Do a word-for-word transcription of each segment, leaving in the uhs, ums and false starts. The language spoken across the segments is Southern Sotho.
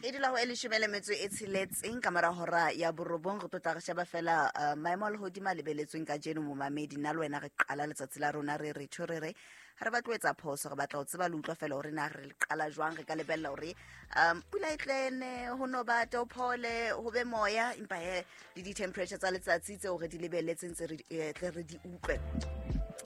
E dula ho e leshome le metso e tsheletseng ka mora hora ya borobong. Re tlo tla re sheba fela uh, maemo a lehodimo a lebeletsweng kajeno momamedi. Nna le wena re qala letsatsi la rona re re tho re re ha re batle ho etsa phoso, re batla ho tseba le utlwa fela hore na re le qala jwang. Re ka lebella hore um pula e tlene, ho no bata, ho phole, ho be moya, empa he le di-temperature tsa letsatsi tseo re di lebelletseng tse re eh, tle re di utlwe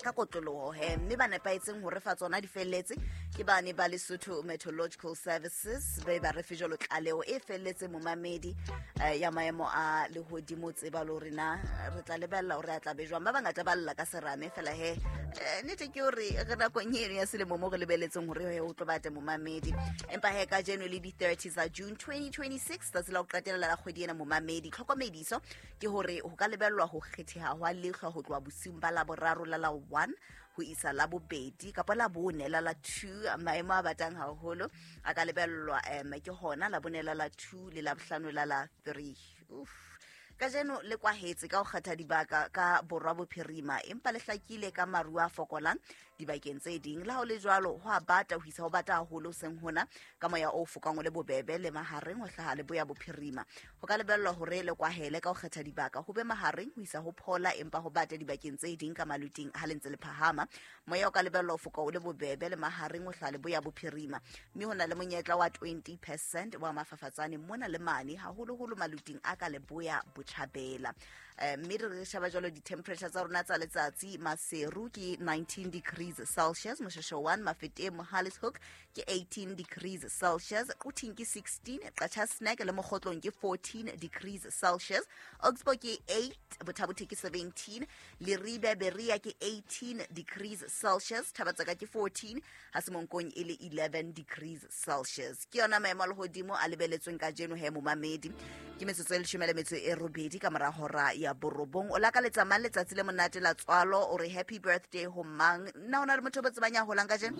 ka kotloloho he. Mme ba nepahetseng ho re fa tsona di felletse ke bane ba Lesotho Meteorological Services, be ba re fe jwalo tlaleho e felletseng momamedi eh, ya maemo a lehodimo. Tseba le hore na re tla lebella hore a tla be jwang. Ba bangata ba lla ka serame fela he, eh, nnete ke hore re nakong eno ya selemo mo re lebelletseng hore he ho tlo bata momamedi. Empa he kajeno le di-thirty tsa June twenty twenty-six, tsatsi la ho qetela la kgwedi ena momamedi, tlhokomediso ke hore ho ka lebellwa ho kgetheha hwa lehlwa ho tloha bosiung ba Laboraro la la one ho isa la bobedi kapa la bone la la two. Maemo a batang haholo a ka lebellwa um ke hona la bone la la two le la bohlano la la three. Uff. Kajeno le kwahetse ka ho kgetha dibaka ka borwa bophirima, empa le hlakile ka maru a fokolang dibakeng tse ding. Le ha ho le jwalo, ho a bata ho isa ho bata haholo seng hona ka moya o fokang o le bobebe le mahareng ho hlaha leboya bophirima. Ho ka lebellwa hore le kwahele ka ho kgetha dibaka, ho be mahareng ho isa ho phola, empa ho bata dibakeng tse ding ka maluting ha le ntse le phahama. Moya o ka lebellwa ho foka o le bobebe le mahareng ho hlaha leboya bophirima, mme ho na le monyetla wa twenty percent wa mafafatsane mona le mane, haholoholo maluting a ka leboya botjhabela. Eh, mme re sheba jwalo di-temperature tsa rona tsa letsatsi. Maseru ke nineteen degrees Celsius, Moshasho one, Mafeteng, Mohale's Hoek ke eighteen degrees Celsius, Quthing ke sixteen, Qacha's Nek le Mokgotlong ke fourteen degrees Celsius, Augsburg ke eight, Botha-Bothe ke seventeen, Leribe, Berea ke eighteen degrees Celsius, Thabatsaka ke fourteen, ha Semonkong e le eleven degrees Celsius. Ke yona maemo a lehodimo a lebeletsweng kajeno he momamedi. Ke metsotso e leshome le metso e robedi ka mora hora ya borobong. O lakaletsa mang letsatsi le monate la tswalo? O re happy birthday ho mang? Nna ho na le motho o bo tsebang ya holang kajeno?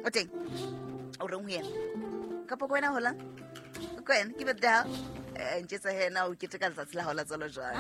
O teng? O reng ho yena? Kapa ko wena holang? Ko wena ke birthday ya hao? Eh, ntjetsa he na o keteka letsatsi la hao la tswalo jwang.